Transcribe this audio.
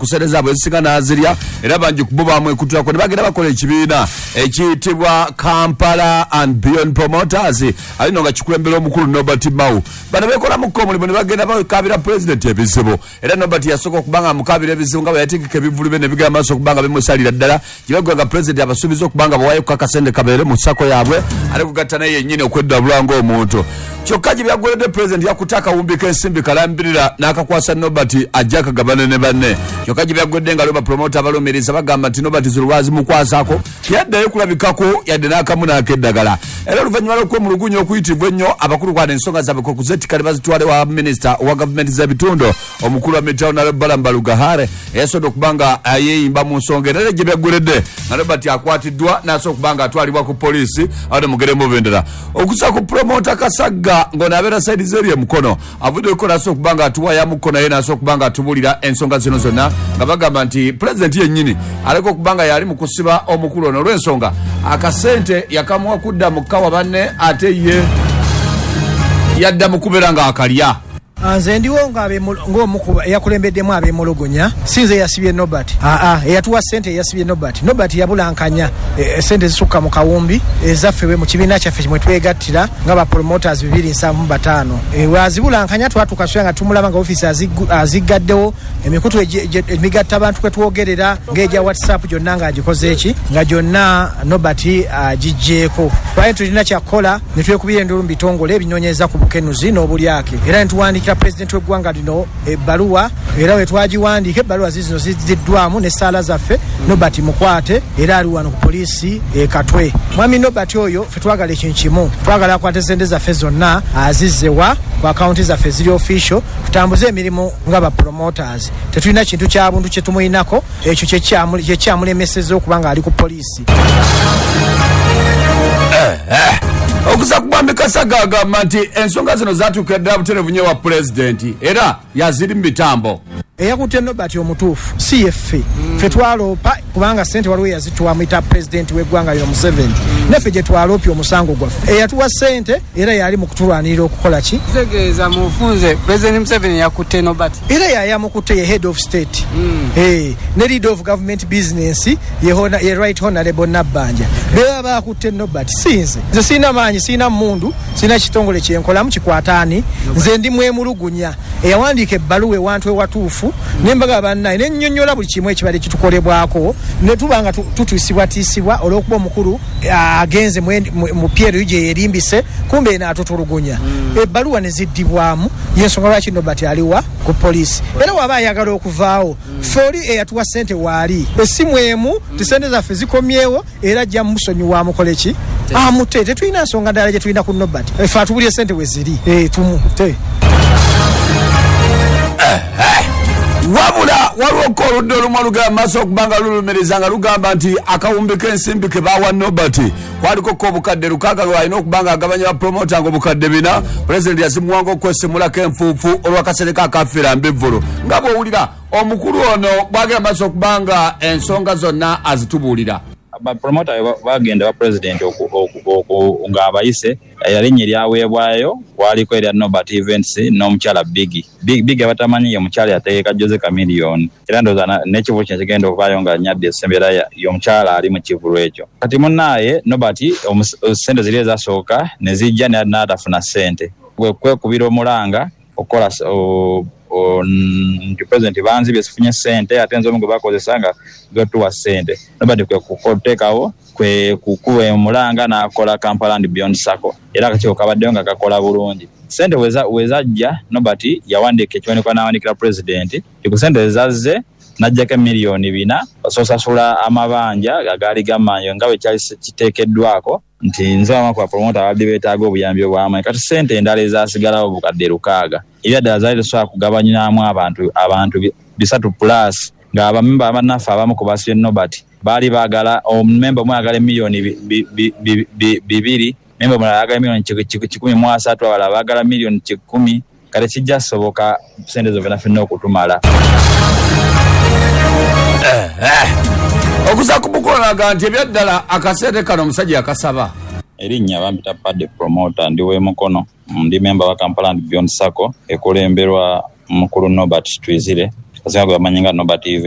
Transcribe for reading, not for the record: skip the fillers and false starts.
Ku ssente zaabwe ezisinga n'azirya, era bangi ku bo bamwekutulako ne bagenda bakola ekibiina ekiyitibwa Kampala and Beyond Promoters, ali no nga kikulembera omukulu Norbert Mao. Bano beekolamuko omulimu ne bagenda bakabira pulezidenti ebizibu, era Norbert yasooka okuba nga amukabira ebizibu nga bwe yategeka ebivvulu bye ne bigenda maaso okuba nga bimusalira ddala. Gye nga pulezidenti abasuubiza okuba nga bawayo ku akasente kabeere mu SACCO yaabwe, ate kugatta naye yennyini okweddabula ng'omuntu. Kyokka gye byaggweredde, pulezidenti yakutte akawumbi k'ensimbi kalambirira n'akakwasa Norbert ajja akagabane ne banne. Kyokka gye byaggwedde nga lwo bapromota abalumiriza bagamba nti Norbert zino lwazimukwasako teyaddayo kulabikako yadde n'akamu n'akeddagala. Era oluvannyuma lw'okwemulugunya okuyitibwa ennyo, abakulu kwana ensonga zaabwe kwe kuzeetikka ne bazitwala ewa minisita owa gavumenti z'ebitundu, omukulu wa Mitaona Balaam Barugahara, eyasobodde okuba nga yeeyimba mu nsonga. Era gye byaggweredde nga Nobert akwatiddwa n'asobola okuba nga atwalibwa ku poliisi awo ne mugere mu bendera. Okusa ku promota Kasagga ng'ono abeera side z'eri emukono avuddeko n'asobola okuba nga atuwayamuko naye n'asobola okuba nga atubuulira ensonga zino zonna, nga bagamba nti pulezidenti yennyini aleka okuba nga yali mu kusiba omukulu ono olw'ensonga akasente yakamuwa kudda mu kkawa banne, ate ye yadda mu kubeera ng'akalya. Nze ndiwo ng'omu ku eyakulembeddemu abeemulugunya. Si nze eyasibye Nobert. Aa, eyatuwa ssente yeyasibye Nobert. Nobert yabulankanya esente ezisukka mu kawumbi ezaffe mu kibiina kyaffe mwe twegattira nga ba promoters 275. Bw'azibulankanya twatuuka sula nga tumulaba nga ofiisi aziggaddewo, emikutu emigatta abantu kwe twogerera ng'egya WhatsApp gyonna ng'agikoze eki nga gyonna Nobert agiggyeeko. Twali tulina kyakukola ne twekubira enduulu mu bitongole ebinoonyereza ku bukenuzi n'obulyake, era ne tuwandiikira pulezidenti w'eggwanga lino ebbaluwa, era we twagiwandiika ebbaluwa ziizino zizziddwamu n'essaala zaffe. Nobert mukwate era ali wano ku poliisi e Katwe. Mwami Nobert oyo ffe twagala ekintu kimu, twagala akwate ssente zaffe zonna azizze wa ku akawunti zaffe eziri official tutambuze emirimu nga ba promoters. Tetulina kintu kya buntu kye tumulinako, ekyo kye kyamulemesezza okuba ng'ali ku poliisi. Okuza ku Mwami Kasagga agamba nti ensonga zino zatuukira ddala butereevu nnyo ewa Pulezidenti era yaziri mu mitambo. Eyakutte Nobert omutuufu si yeffe. Ffe twaloopa kubanga ssente waliwo eyazituwa amuyita Pulezidenti w'eggwanga lino Museveni, naffe gye twaloopye omusango gwaffe. Eyatuwa ssente era yali mu kutulwanirira okukola ki? Kitegeeza mu bufunze Pulezidenti Museveni yakutte Nobert? Era yayamukutte, ye head of state ne leader of government business ye Right Honorable Nabbanja, bebaba bakutte Nobert, si nze. Nze sirina maanyi, sirina mmundu, sirina kitongole kyenkolamu kikwata ani. Nze ndi mwemulugunya eyawandiika ebbaluwa ewantu ewatuufu ne mbagamba bannaye ne nnyonnyola buli kimu ekibadde kitukolebwako ne tuba nga tutiisibwatiisibwa olw'okuba omukulu agenze mu PLU gye yeerimbise kumbe eno atutulugunya. Ebbaluwa ne ziddibwamu, y'ensonga lwaki Nobert aliwa ku poliisi. Era waba ayagala okuvaawo, ffe oli eyatuwa ssente waali, essimu emu nti ssente zaffe zikomyewo, era ajja musonyiwa amukole ki? Amute. Tetulina nsonga ndala gye tulina ku Nobert, ffe atubulye ssente we ziri tumute. Wabula waliwo oludda olumu olugenda mu maaso okuba nga lulumiriza nga lugamba nti akawumbi k'ensimbi ke baawa Nobert kwaliko ko obukadde 6 lwalina okuba nga agabanya bapromota nga obukadde 4 pulezidenti yazimuwanga okwesimulako enfuufu olw'akasereka akafiira mbivvulu. Nga bw'owulira omukulu ono bwagenda mu maaso okuba nga ensonga zonna azitubuulira. Bapromota bagenda ewa Pulezidenti nga abayise, erinnya eryaweebwayo kwaliko erya Nobert Events n'omukyala Biggie. Biggie abatamanyi ye mukyala eyategeka Jose Chameleone era ndowooza n'ekivulu kino ekigenda okuvaayo nga Nyaddi esembye era y'omukyala ali mu kivulu ekyo. Kati munaaye Nobert sente ziri ezasooka ne zija n'atafuna sente, kwe kwekubira omulanga okukola nti Pulezidenti banzibye sifunye sente ate nze omu gwe bakozesa nga gwetuwa sente. Nobert kwe kuteekawo kwe kukuba omulanga n'akola Kampala and Beyond Sacco era akakiiko kabaddeyo nga kakola bulungi. Sente wezajja Nobert yawandiika ekiwandiiko n'awandiikira Pulezidenti nti ku sente ezazze n'ajjaku emiliyoni 4 osasula amabanja agaali gamanyo nga bwe kyali kiteekeddwako nti nze abamu ku bapromota ababadde beetaaga obuyambi obw'amaanyi. Kati sente endala ezaasigalawo obukadde 6 ebyaddala zaali tezisobola kugabanyaamu abantu 300 plus nga bamemba bannaffe abamu ku basibye Nobert baali baagala omumemba omu ayagala emiliyoni 2, memba omulala ayagala emiliyoni 130, abalala baagala miliyoni 100. Kale kijja soboka sente ezo fenafena okutumala. Okuza ku mukolo alaga nti ebyaddala akasente kano omusajja yakasaba. Erinnya bampita Paddy Promoter, ndi w'e Mukono. Ndi memba wa Kampala and Beyond Sacco ekulemberwa mukulu Nobert Twizire, abasinga gwe bamanyi nga Nobert Events.